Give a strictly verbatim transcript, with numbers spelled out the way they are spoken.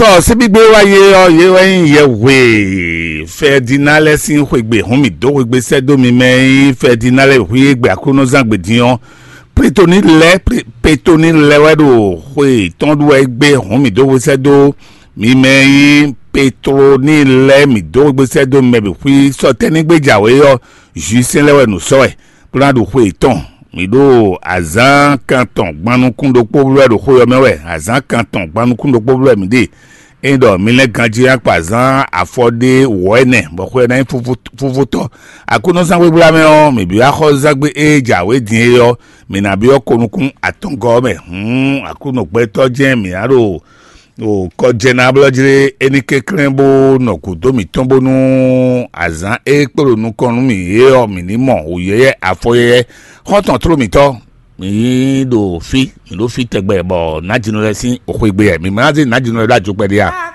Ɔ síbígbé wá yé ɔ́, yé wɛ nyí yɛhwe Fɛdina lɛ́ɛ sín xwegbe hɔn mì dó xwegbe sɛ́ dó mi mɛ e nyí Fɛdina lɛ́ɛ hwí e gbe Aklúnɔzán gbe din ɔ́. Petoni lɛ́ɛ Petoni lɛ́ɛ wɛ ɖo xwe tɔn ɖu wɛ gbé hɔn mì dó xwe sɛ́ dó mi mɛ e nyí Petloni lɛ́ɛ mì dó xwegbe sɛ́ dó mɛ bǐ xwí sɔtɛ́ ní gbé jǎwe ɔ́, Jwisɛ́n lɛ́ɛ wɛ nǔ sɔ́ wɛ. Bó ná ɖo xwe yětɔn. Mǐ ɖo azǎn kan tɔn gban nukún ɖokpó bló wɛ ɖo xwe ɔ́ mɛ wɛ. Azǎn kan tɔn gban nukún ɖokpó bló wɛ mǐ ɖe. Ényí ɖɔ mi lɛ́ ganjí akpa azǎn afɔ ɖé wǒ ɛnɛ, bɔ xwe ɔ́ ná nyí fúfútɔ́. Aklúnɔzán gbégbla mɛ ɔ́, mǐ byɔ́ axɔ́zángbé e jǎwe din é ɔ́, mǐ ná byɔ́ ko nukún atɔngɔ́ ɔ́ mɛ. Hǔn Aklúnɔ gbɛtɔ́ jɛ́n mǐ ná ɖo ɖo kɔjɛnáblɔ́jlé é ní kɛnklɛ́n bó nɔ gǔdo mǐtɔn bónú azǎn e kpo ɖo nukɔn nú mǐ é ɔ́, mǐ ní mɔ wǔyɛ́yɛ́ afɔyɛ́yɛ́. Xɔ́ntɔn tló mǐtɔn, mǐ ɖo fí, mǐ ɖo fí tɛgbɛ bɔ nǎjínɔ lɛ́ɛ sín xwegbe wɛ. Mǐ ma ná zé nǎjínɔ lɛ́ɛ ɖó ajokpɛ ɖé a?